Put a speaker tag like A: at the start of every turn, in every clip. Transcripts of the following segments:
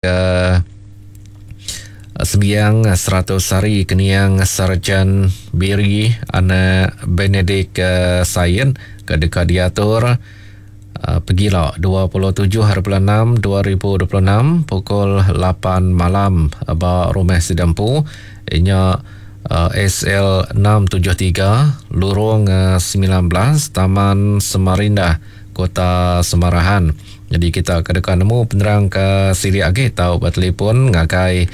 A: Ke sembiang 100 hari keniang Sarjan Biri anak Benedict Sain ke deka diatur pegila 27 hari bulan 6 2026 pukul 8 malam ba Rumah Sida Empu inya SL 673 Lurung 19 Taman Semarindah Kota Semarahan. Nyadi kita ke deka nemu penerang ke silik agi tau betelefon ngagai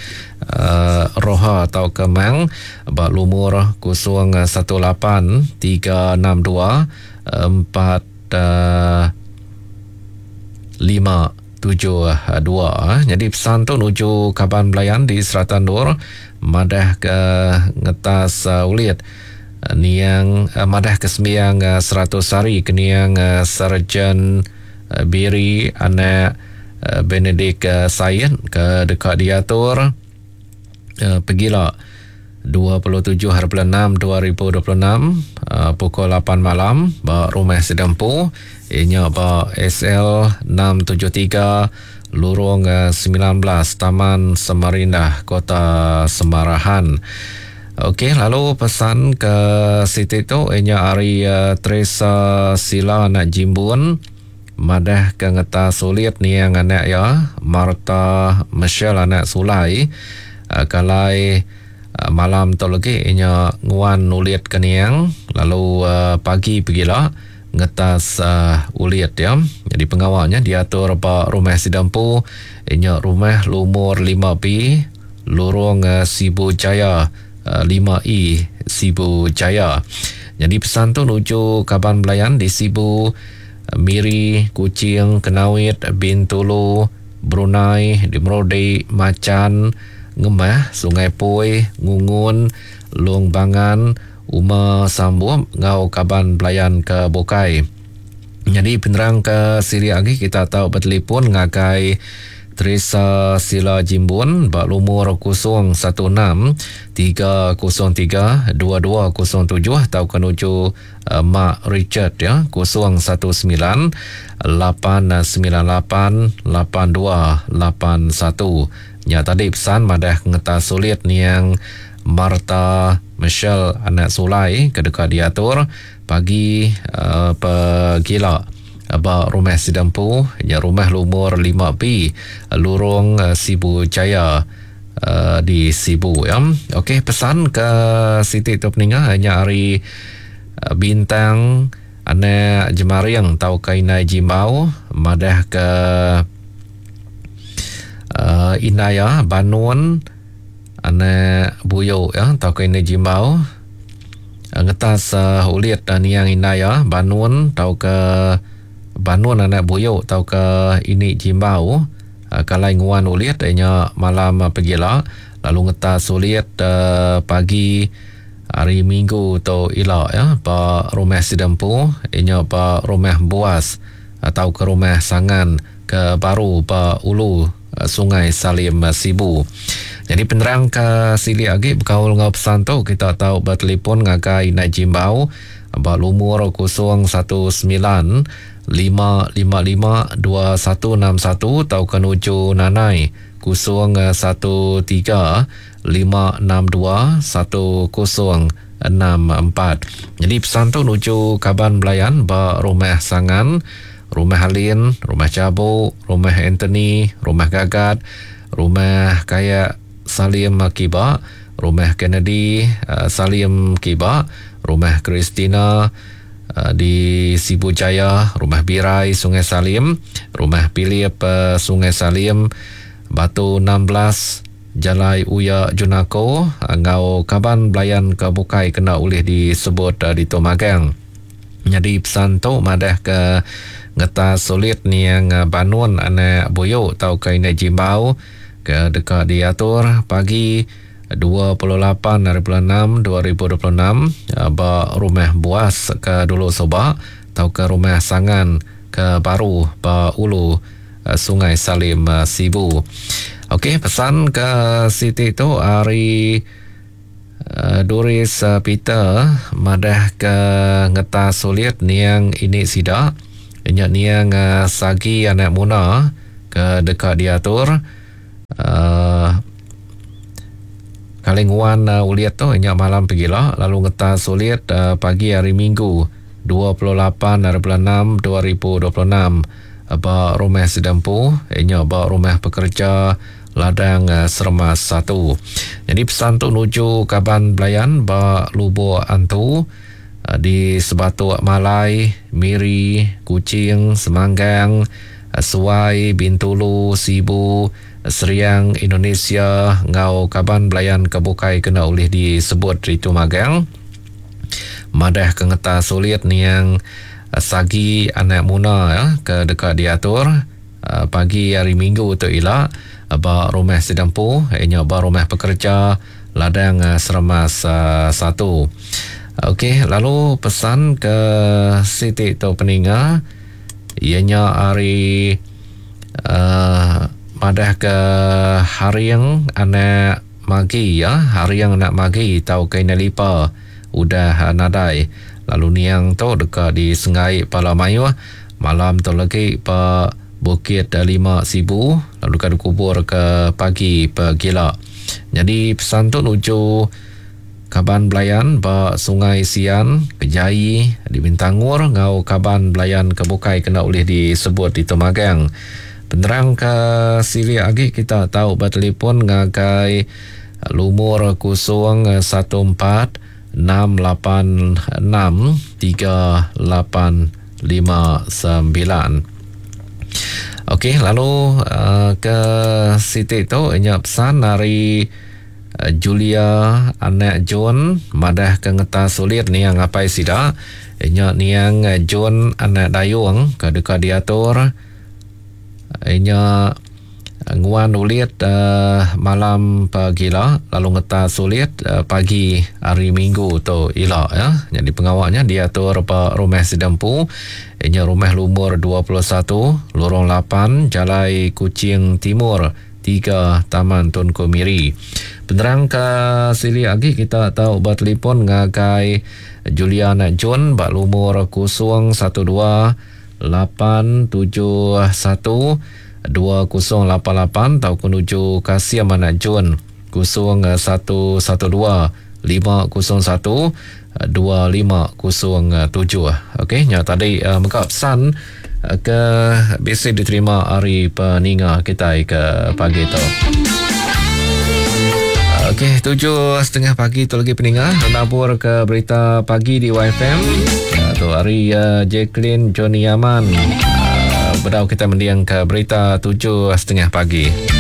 A: uh, Roha tauka Mang ba lumur 018 362 4 5 7 2. Nyadi pesan tu nuju kaban belayan di serata endur madah ke ngetas uh, ulit niang uh, madah ke sembiang uh, 100 hari ke niang uh, Sarjan Biri anak Benedict Said ke deka diatur pegila 27 hari bulan 6 2026 pukul 8 malam ba Rumah Sida Empu iya nya ba SL 673 Lurung 19 Taman Semarindah Kota Semarahan. Okey lalu pesan ke siti tu iya nya ari Teresa Sila anak Jimbun madah ke ngeta sulit niang anak iya Martha Michelle anak Sulai kalai malam tu legi iya nya nguan ulit ke niang lalu pagi pegila ngetas ulit iya. Nyadi pengawa nya diatur ba rumah sida empu iya nya rumah lumur 5B Lurung Sibu Jaya 5E Sibu Jaya. Nyadi pesan tu nuju kaban belayan di Sibu, Miri, Kuching, Kenawit, Bintulu, Brunei, di Merudi, Machan, Ngemah, Sungai Poi, Ngungun, Long Bangan, Uma Sambop enggau kaban belayan ke bukai. Nyadi penerang ke silik agi kita tau betelefon ngagai Teresa Sila Jimbun ba lumur 016 303 2207 tauka nuju Mak Richard ya 019 898 8281. Nya tadi pesan madah ngeta sulit niang Martha Michelle anak Sulai ke deka diatur Pagi pegila ba rumah sida empu nya rumah lumur 5B Lurong Sibu Jaya di Sibu ya. Okey pesan ke siti tu peninga nya ari Bintang anak Jemaring tauka Indai Jimbau madah ke uh, indai ya Banun anak Buyu ya tauka Indai Jimbau Ngetas ulit niang indai iya Banun tauka Banun anak Buyu tauka ini Jimbau kalai nguan ulit iya nya malam pegila lalu ngetas ulit pagi hari Minggu tu ila iya ba rumah sida empu iya nya ba rumah Buas tauka rumah Sangan ke baru ba ulu Sungai Salim Sibu. Nyadi penerang ke silik agi bekaul enggau pesan tu kita tau betelefon ngagai Indai Jimbau ba lumur 019 555 2161 tauka nuju Nanai 013 562 1064. Nyadi pesan tu nuju kaban belayan ba Rumah Sangan Rumah Alin, Rumah Chabu, Rumah Anthony, Rumah Gagat, Rumah Kayak Salim Kiba, Rumah Kennedy Salim Kiba, Rumah Christina di Sibu Jaya, Rumah Birai Sungai Salim, Rumah Philip Sungai Salim, Batu 16, Jalai Uya Junako enggau kaban belayan ke bukai kena ulih disebut ditu magang. Nyadi pesan tu madahka ngetas sulit niang Banun anak Buyu tauka Indai Jimbau ke deka diatur pagi 28 hari bulan 6 2026 ba Rumah Buas ke dulu suba tauka Rumah Sangan ke baru ba ulu Sungai Salim Sibu. Okey pesan ke siti tu ari Doris Peter madah ke ngetas sulit niang ini sida nya niang Sagi anak Muna ke deka diatur. Uh, kali nguan uh, ulit tu nya malam pegila lalu ngetas ulit uh, pagi hari Minggu 28 hari bulan 6 2026 ba rumah sida empu nya ba rumah pekerja ladang Seremas satu. Nyadi pesan tu nuju kaban belayan ba Lubok Antu di Sebatuk Malai, Miri, Kuching, Semanggang, Suai, Bintulu, Sibu, Seriang, Indonesia enggau kaban belayan ke bukai kena ulih disebut ditu magang. Madah ke ngetas ulit niang Sagi anak Muna ke deka diatur pagi hari Minggu tu ila ba rumah sida empu iya nya ba rumah pekerja ladang Seremas satu. Okey lalu pesan ke siti tu peninga iya nya ari uhh madah ke Haring anak Magi iya Haring anak Magi tauka Indai Lipa udah nadai lalu niang tu deka disenggai pala mayuh Malam tu legi ba Bukit Lima Sibu lalu deka dikubur ke pagi pegila. Nyadi pesan tu nuju kaban belayan ba Sungai Sian, Kejai, di Bintangor enggau kaban belayan ke bukai kena ulih disebut ditu magang. Penerang ke silik agi kita tau betelefon ngagai lumur 014 686 3859. Okey, lalu uh, ke siti tu nya pesan ari uh, Julia anak John madah ke ngetas sulit niang apai sida nya niang John anak Dayung ke deka diatur Inya nguan ulit malam pagila lalu ngetas ulit pagi hari Minggu tu ila ya. Nyadi pengawa nya diatur ba rumah sida empu inya rumah lumur 21 Lorong 8 Jalai Kuching Timur 3 Taman Tunku Miri. Penerang ka silik agi kita tau betelefon ngagai Julian John ba lumur 012 871 2088 tauka nuju Kasim anak Jun 0112 501 2507. Okey, nya tadi uh, mega pesan uh, ke bisi diterima ari peninga kitai ke pagi tu. Okey, 7.30 pagi tu lagi peninga nabur ke berita pagi di YFM. Uh, tu hari uh, Jacqueline Johnny Aman. Uh, bedau kita mendiang ke berita 7.30 pagi.